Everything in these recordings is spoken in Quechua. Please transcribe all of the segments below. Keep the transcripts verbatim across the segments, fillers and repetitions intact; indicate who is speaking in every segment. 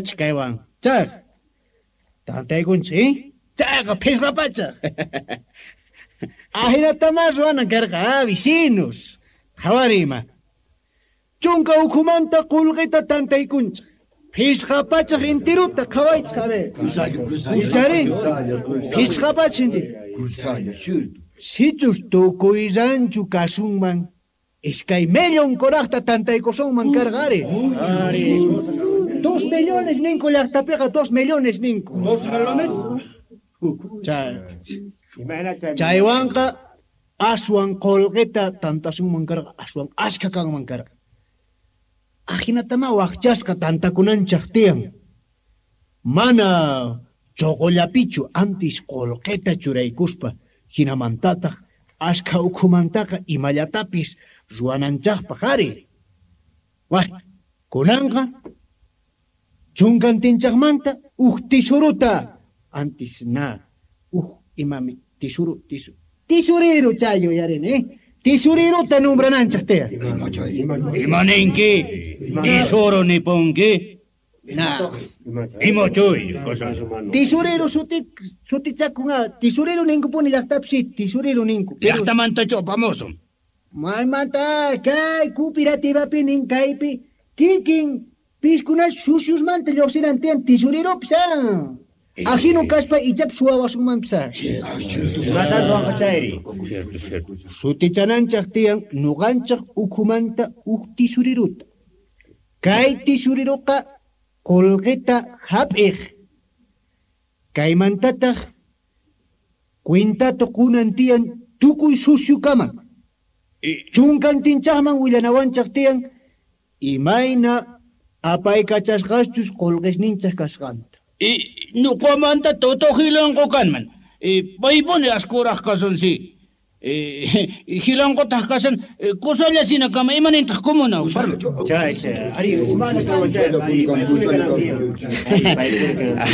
Speaker 1: Ruwachik kaywan. Chay. Tantaykunchik, eh? Chayqa phisqa pachak. Ahinatama ruwanan karqa, ah, vecinos. Qhawari ima. Chunka ukhumanta qullqita tantaykunchik. Phisqa pachak intiruta qhawaychik, a ver. Ichari? Phisqa pachak intiru. Sichus tukuy ranchu kasunman, iskay millón kuraqta tantaykusunman karqa ari. Dos millones ninku llaqtapiqa, dos millones ninku.
Speaker 2: Dos millones?
Speaker 1: Chay. Chaywanqa aswan qullqita tantasunman karqa, aswan ashka kanman karqa. Ahinatama waqchasqa tantakunanchaq tiyan. Mana choqollapichu antis qullqita churaykuspa, hinamantataq ashka ukhumantaqa imallatapis ruwananchaqpaq ari. Wah, kunanqa chunkantinchaqmanta uj tisuruta antis na uj imami tisuru tisu tisurero chayo yarini, eh? Tisuriruta nombrananchaq tiyan.
Speaker 2: Ima ninki? Tisuro nipunki?
Speaker 1: Na.
Speaker 2: Ima chay?
Speaker 1: Tisurero suti sutichakunqa, tisurero ninkupuni llaqtapi si, tisurero ninku.
Speaker 2: Llaqtamantachu apamusun?
Speaker 1: Maymanta kay cooperativapi nin kaypi kikin piskuna suciosmanta lluqsinan tiyan tisureropis, ah. Ajino kaspa ichapis suwawasunmanpis, ah.
Speaker 3: Imatan ruwanqa chayri?
Speaker 1: Sutichananchaq tiyan nuqanchaq ukhumanta uj tisuriruta. Kay tisuriruqa qullqita hap'iq. Kaymantataq cuentata qunan tiyan tukuy suciokama. Chunkantinchaqman willanawanchaq tiyan imayna apaykachasqaschus qullqisninchaq kasqanta.
Speaker 2: Y nuqamanta Toto Jilanqo kanman. Paypuni askuraq kasan si. Jilanqotaq kasan kusalla sinakama imanintaq kumuna.
Speaker 3: Chay, chay. Ari,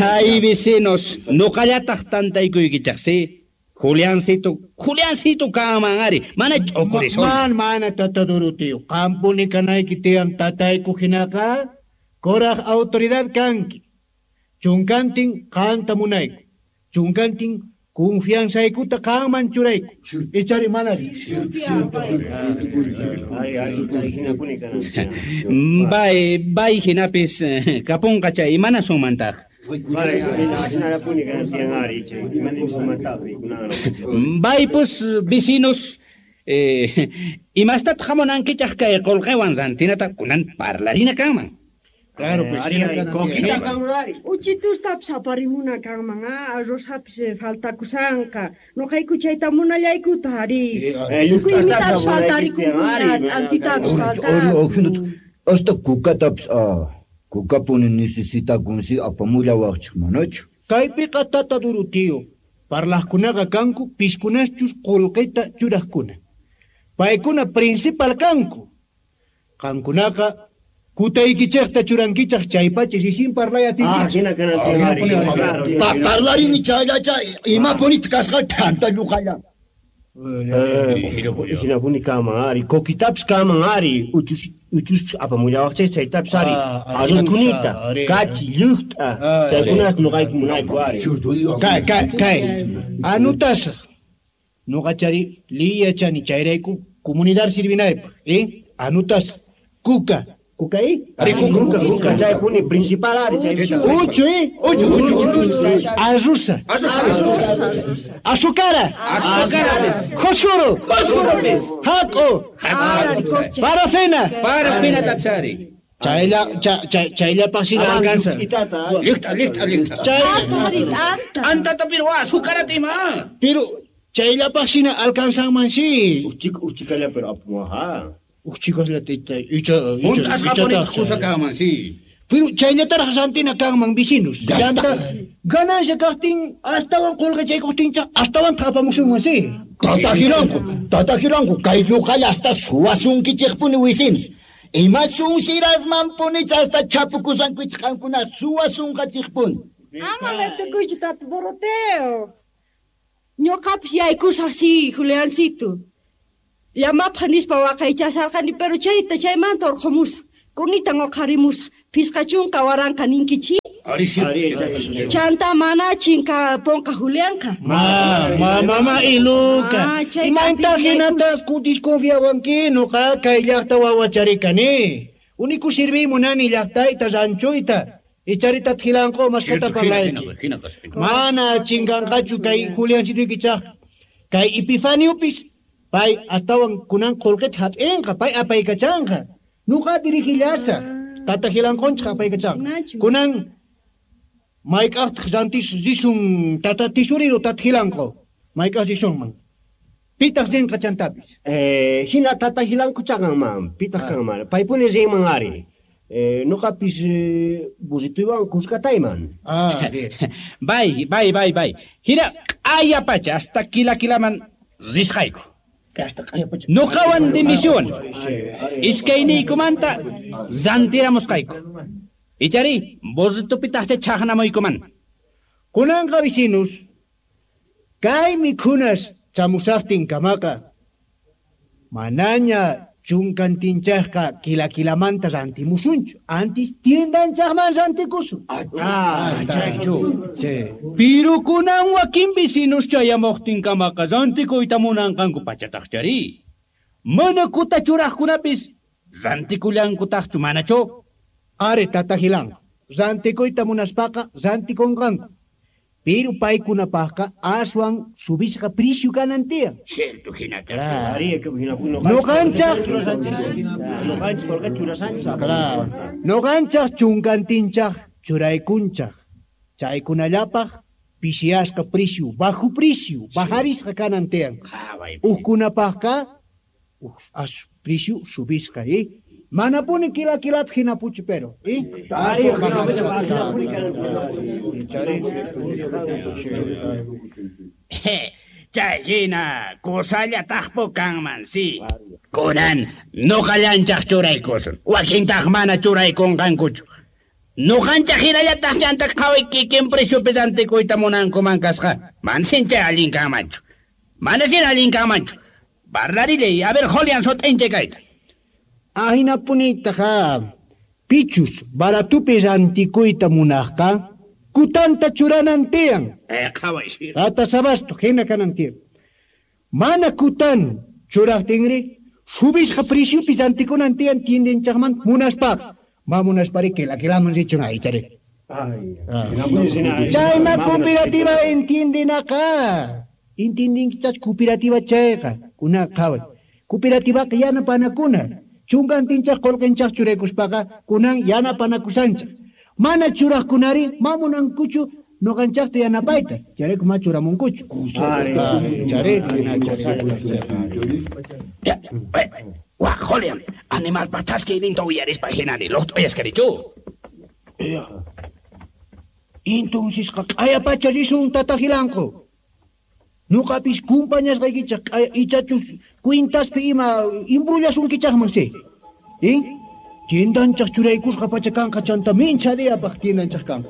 Speaker 2: Ay, vecinos, nuqallataq tantaykuykichaq si. Juliancito, Juliancito kanman ari, mana ch'ukurisun.
Speaker 1: Man, mana tata Doroteo, qampuni kanayki tiyan tatayku hinaqa, kuraq autoridad kanki. Chunkantin qanta munayku. Chunkantin confianzaykuta qanman churayku. Ichari manari.
Speaker 2: Bay, bay hinapis kapunqa chay imana sunmantaq. Baypus vecinos, eh, imastataq hamunankichaq kay qullqiwan rantinata kunan parlarina kanman.
Speaker 1: Claro, pues.
Speaker 3: Coquita.
Speaker 4: Uchitustapis aparimuna kanman, ah, arrozapis faltakusanqa. Nuqayku chayta munallaykuta ari. Tukuy imitapis faltarikupuña, t'antitapis faltakun.
Speaker 5: Hasta kukatapis, ah, kukapuni necesitakunsi apamullawaqchik manachu.
Speaker 1: Kaypiqa tata Doroteo, parlaqkunaqa kanku piskunaschus qullqita churaqkuna. Paykuna principal kanku. Qankunaqa kutaykichaqta churankichaq chaypacha risin parlay atinkichaq.
Speaker 3: Ah, hina kanan tiyan.
Speaker 5: Pa parlarini chayllacha imapunita kasqa t'anta lluqalla.
Speaker 3: Hinapuni kanman ari, coquitapis kanman ari, uchus uchuspis apamullawaqchik chaytapis ari, arroz kunita, kachi, lluqt'a, chaykunas nuqayku munayku ari.
Speaker 1: Kay, kay, kay, anutasaq. Nuqachari liyachani chayrayku comunidad sirvinaypaq, eh? Anutasaq. Kuka. Kuka, eh?
Speaker 3: Ari, kuka, kuka, chaypuni principal ari, chay.
Speaker 1: Uchu, eh? Uchu, uchu, uchu. Arrusa. Azucara.
Speaker 2: Azucarapis.
Speaker 1: Fósforo.
Speaker 2: Fósforopis.
Speaker 1: Haco. Parafina.
Speaker 2: Parafina tapsari.
Speaker 1: Chaylla, chay, chayllapaq sina alcanza.
Speaker 2: Lluqt'a, lluqt'a, lluqt'a.
Speaker 1: Chay.
Speaker 2: T'antata pero azucarata ima.
Speaker 1: Pero chayllapaq sina alcanzanman si.
Speaker 3: Uchik, uchikalla pero apamuwaqa.
Speaker 1: Uchikaslla tayta, icha, icha,
Speaker 2: Hunt'asqapuni kusa kanman si.
Speaker 1: Pero chayllataraq rantina kanman vecinos. Llanta ganancia kaqtin astawan qullqichaykuqtinchaq astawan apamusunman si.
Speaker 5: Tata Jiranqo, tata Jiranqo, kay lluqalla hasta suwasunkichikpuni vecinos. Ima sunsirasmanpuni hasta chapukusankichik qankuna suwasunqachikpuni.
Speaker 4: Ama metukuychu tata Doroteo. Ñuqapis yaykusaq si, Juliancito. Llamapaq nispa waqaychasarqani, pero chayta chaymanta urqhumusaq. Kunitan uqharimusaq. Phisqa chunka waranqa ninkichi. Chanta mana chinkaponqa Julianqa.
Speaker 1: Ma, ma, mama iluka. Imanta hinata desconfiawanki nuqa kay llaqta wawacharikani. Uniku sirviy munani llaqtayta ranchuyta. Icharita Gilanqo masqata parlayki. Mana chinkanqachu kay Juliancituykichaq. Kay Epifaniopis pay astawan kunan qullqita hap'inqa, pay apaykachanqa. Nuqa dirigillasaq. Tata Gilanqonchaq apaykachanqa. Kunan mayk'aqtaq rantis risun tata tisuriro tata Gilanqo. Mayk'aq risunman. Pitaq rinqa chantapis.
Speaker 3: Eh, hina tata Gilanqo chanqanman, pitaq kanman. Paypuni rinman ari. Eh, nuqapis burrituywan kuskatayman.
Speaker 1: Ah,
Speaker 2: bay, bay, bay, bay. Hina q'ayapacha hasta kila kilaman risqayku.
Speaker 1: Hasta q'ayapacha.
Speaker 2: Nuqawan dimisión. Iskayniykumanta rantiramusqayku. Ichari burritupitaqcha chaqnamuykuman.
Speaker 1: Kunanqa vecinos, kay mikhunas chamusaqtin kamaqa. Manaña chunkantinchaqqa kila kilamanta rantimusunchu. Antis tiendanchaqman rantikusun.
Speaker 2: Ah, chaychu. Pero kunan wakin vecinos chayamuqtinkamaqa rantikuyta munanqanku pachataqchari. Mana kuta churaqkunapis rantikullankutaqchu manachu.
Speaker 1: Are tata Gilanqo, rantikuyta munaspaqa rantikunqanku. Pero paykunapaqqa aswan subisqa prisyu kanan tiyan.
Speaker 2: Cierto hinata.
Speaker 1: Nuqanchaq Claro. Nuqanchaq chunkantinchaq churaykunchaq. Chaykunallapaq pishiasqa prisyu, bajo prisyu, bajarisqa kanan tiyan. Uqkunapaqqa as prisyu subisqa, eh? Manapuni kila kilap hinapuchu pero, eh?
Speaker 2: Chay hina kusallataqpu kanman, si. Kunan nuqallanchaq churaykusun. Wakintaq mana churaykunqankuchu. Nuqanchaq hinallataq chanta qhaway kikin presyupi rantikuyta munankuman kasqa. Mansin chay allin kanmanchu. Manasin allin kanmanchu. Parlarilay, a ver, Julián sut'inche kayta.
Speaker 1: Ahinapunitaqa pichus baratupi rantikuyta munaqqa kutanta churanan tiyan.
Speaker 2: Eh, qhaway sir.
Speaker 1: Tata sabasto hina kanan tiyan. Mana kutan churaqtinri subisqa presyupi rantikunan tiyan tiendanchaqman munaspaqa. Ma munaspari kila kilaman richun aychari. Chayma cooperativa entiendenaqa. Entiendinkichach cooperativa chayqa. Kuna qhaway. Cooperativaqa yanapanakuna. Chunkantinchaq qullqinchaq churaykuspaqa kunan yanapanakusanchaq. Mana churaqkunari ma munankuchu nuqanchaqta yanapayta. Chayrayku ma churamunkuchu. Chari,
Speaker 2: Wa, Julián, animal pataskiyninta uyarispa hinani luqt'uyaskarichu.
Speaker 1: Entoncesqa q'ayapacha risun tata Gilanqo. Nuqapis kumpañasqaykichaq q'aya ichachus cuentaspi ima imbrullasunkichaqman si. Eh? Tiendanchaq churaykusqa pacha kanqa chanta mincha diyapaq tiendanchaq kanqa.